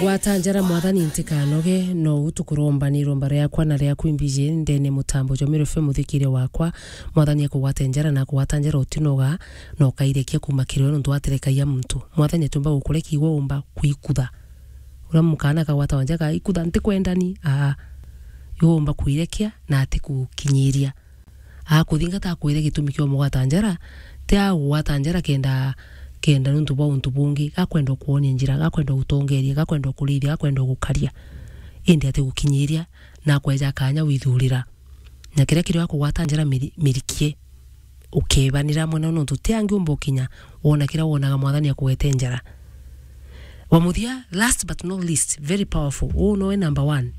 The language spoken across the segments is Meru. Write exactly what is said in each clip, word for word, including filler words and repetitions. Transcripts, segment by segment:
Gwata njara, Mwathani, ntikanoge, no u tukuromba ni iromba riakwa na riaku imbiji ndene mutambo jwa Meru F M, muthikiria wakwa. Mwathani akugwate njara, na akugwata njara utinoga, na ukairekia kuuma kiri we, nontu waterekagia muntu. Mwathani atiumba gukurekia, igwe umba kwikutha. Uria mukaana akagwata wanja ka ikutha, ntikwendani, aa, igwe umba kwirekia na atikukinyiria. Akuthingata akwire gitumi kia umugwata njara, ti agugwata njara kenda, kenda nuntu bwa untu bungi, gakwenda ukwonia njira, gakwenda utongeria, gakwenda ukurithia, gakwenda ugukaria. Indi atigukinyiria, na akweja kanya withurira. Na kiria kirio akugwata njara miri-, mirikie, ukebanira amwe nao, nontu ti angi umba ukinya wona kiria wonaga Mwathani akugwete njara. Wa muthia, last but not least, very powerful, uu nowe number one,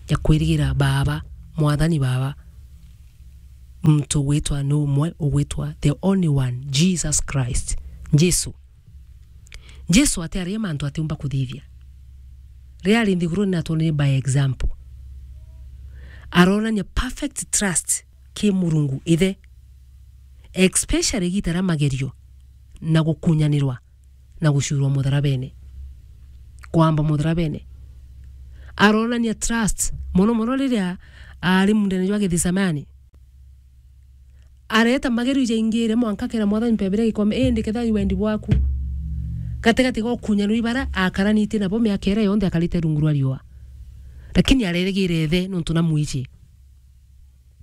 ya kwirigira Baaba, Mwathani Baaba. Muntu ugwitwa ni umwe, ugwitwa the only one, Jesus Christ. Jesu. Jesu atiaria mantu atiumba kuthithia. Riria ari nthiguruni, natwonire by example. Aronania perfect trust ki Murungu Ithe, especially igita ria magerio na gukunyanirwa na gucurwa mutharabene, kwamba mutharabene. Aronania trust mono mono riria ari muundene jwa Githisemani. Areta magerio jaingire mwanka akera Mwathani, "Mpebere gikombe, indi kethira i wendi bwaku." Gatigati ga ukunyanirwa ibara akaranitie nabo miaka iria yonthe akarite rungu rwa riua. Lakini arerigire Ithe nontu namwiji.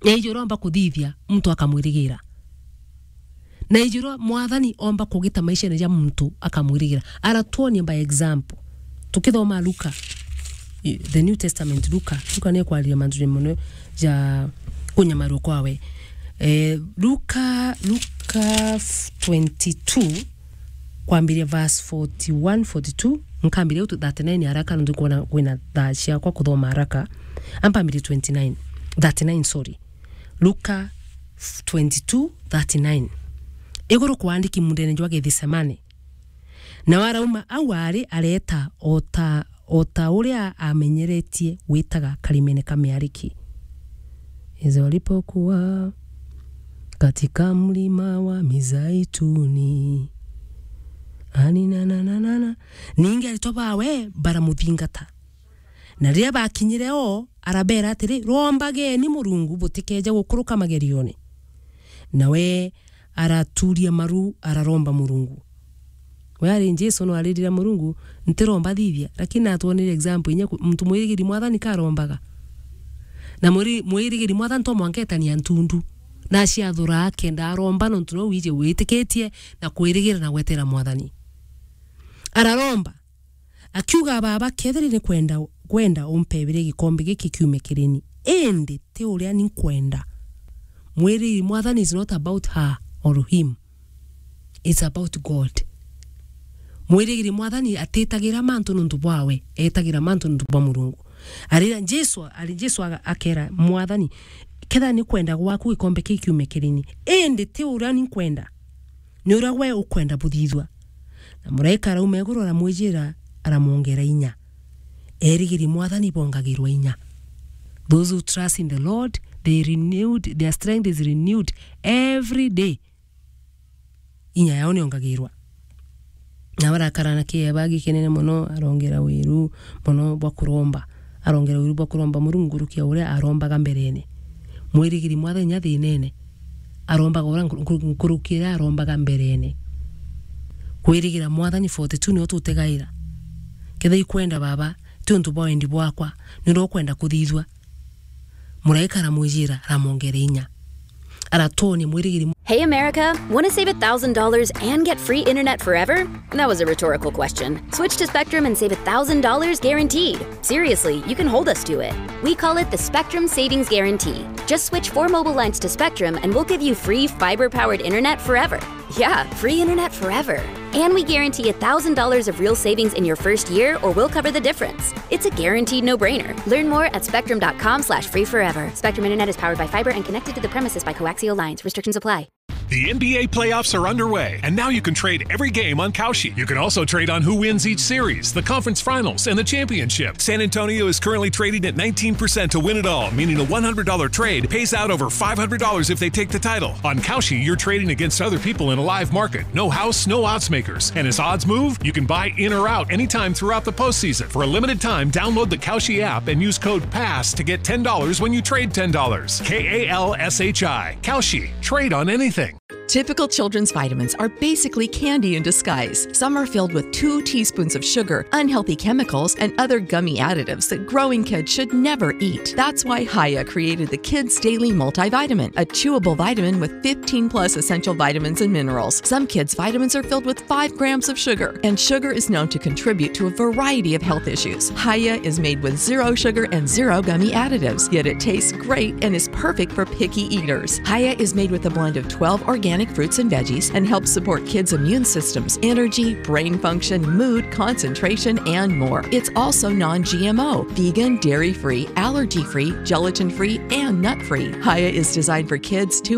Na iji uria omba kuthithia, muntu akamwirigira. Na iji uria Mwathani omba kugita maishene ja muntu akamwirigira. Aratwonia by example. Tukithoma Luka, i-, the New Testament, Luka, Luka ni ekwariria mantu ja mono ja kunyamarua kwawe. Eh, Luka, Luka twenty-two, kwambiria verse forty-one, forty-two, nkambiria u thirty-nine haraka, nontu nkwona kwina thaa ciakwa kuthoma haraka. Ampambirie twenty-nine, thirty-nine, sorry. Luka twenty-two thirty-nine. Iguru kwa andiki muundene jwa Githisemani. Nawe arauma au ari, areeta o ta, o ta uria amenyeretie gwitaga karimene ka miariki. Yesu alipokuwa katika mlima wa Mizeituni. Ani na na na na na. Ningi aritwa bawe baramuthingata. Na riria bakinyire o, arabeera atiri, "Rombageni Murungu butikeeje gukuruka magerione." Nawe aratuuria maru, araromba Murungu. We ari Jesu no aririra Murungu, "Ntiromba thithia," lakini natwonire example inya ku-, muntu mwirigiri Mwathani karombaga. Na mwiri-, mwirigiri Mwathani to mwanka etania ntundu. Na aciathura akenda aromba nontu no wiji witikitie na kwirigira na gwetera Mwathani. Araromba. Akiuga, "Baaba, kethira ni kwenda, kwenda umpebere gikombe giki kiume kiri ni, indi ti uria ni nkwenda." Mwirigiri Mwathani is not about her or him. It's about God. Mwirigiri Mwathani atitagira mantu nuntu bwawe, etagira mantu nuntu bwa Murungu. Arira Jesu, ari Jesu aga-, akera Mwathani, "Kethira ni kwenda gwaku gikombe kii kiume kiri ni, indi ti uria ni nkwenda." Ni uria we ukwenda buthithua. Na muraika arauma iguru aramwijira, aramwongera inya. Erigiri Mwathani bongagirwa inya. Those who trust in the Lord, they renewed, their strength is renewed every day. Inya yao niongagirwa. Na barakara na kieba gikinene mono, arongera wiru mono bwa kuromba. Arongera wiru bwa kuromba Murungu nkuruki ya uria arombaga mberene. Mwirigiri Mwathani inya thinene, arombaga uria nkuru-, nkuru-, nkuruki iria arombaga mberene. Kwirigira Mwathani forty-two nio tutegaira. Kethira ikwenda, Baba, ti untu bwa wendi bwakwa, ni uria ukwenda kuthithua. Muraika aramwijira, aramwongera inya. Aratonya mwirigiri. Hey, America, want to save a thousand dollars and get free internet forever? That was a rhetorical question. Switch to Spectrum and save a thousand dollars guaranteed. Seriously, you can hold us to it. We call it the Spectrum Savings Guarantee. Just switch four mobile lines to Spectrum and we'll give you free fiber-powered internet forever. Yeah, free internet forever. And we guarantee a thousand dollars of real savings in your first year, or we'll cover the difference. It's a guaranteed no-brainer. Learn more at spectrum dot com slash free forever. Spectrum Internet is powered by fiber and connected to the premises by coaxial lines. Restrictions apply. The N B A playoffs are underway, and now you can trade every game on Kalshi. You can also trade on who wins each series, the conference finals, and the championship. San Antonio is currently trading at nineteen percent to win it all, meaning a one hundred dollar trade pays out over five hundred dollars if they take the title. On Kalshi, you're trading against other people in a live market. No house, no odds makers. And as odds move, you can buy in or out anytime throughout the postseason. For a limited time, download the Kalshi app and use code PASS to get ten dollars when you trade ten dollars. K A L S H I. Kalshi. Trade on anything. Typical children's vitamins are basically candy in disguise. Some are filled with two teaspoons of sugar, unhealthy chemicals, and other gummy additives that growing kids should never eat. That's why Haya created the Kids Daily Multivitamin, a chewable vitamin with fifteen plus essential vitamins and minerals. Some kids' vitamins are filled with five grams of sugar, and sugar is known to contribute to a variety of health issues. Haya is made with zero sugar and zero gummy additives, yet it tastes great and is perfect for picky eaters. Haya is made with a blend of twelve organic fruits and veggies and helps support kids' immune systems, energy, brain function, mood, concentration, and more. It's also non G M O, vegan, dairy free, allergy free, gelatin free, and nut free. Haya is designed for kids two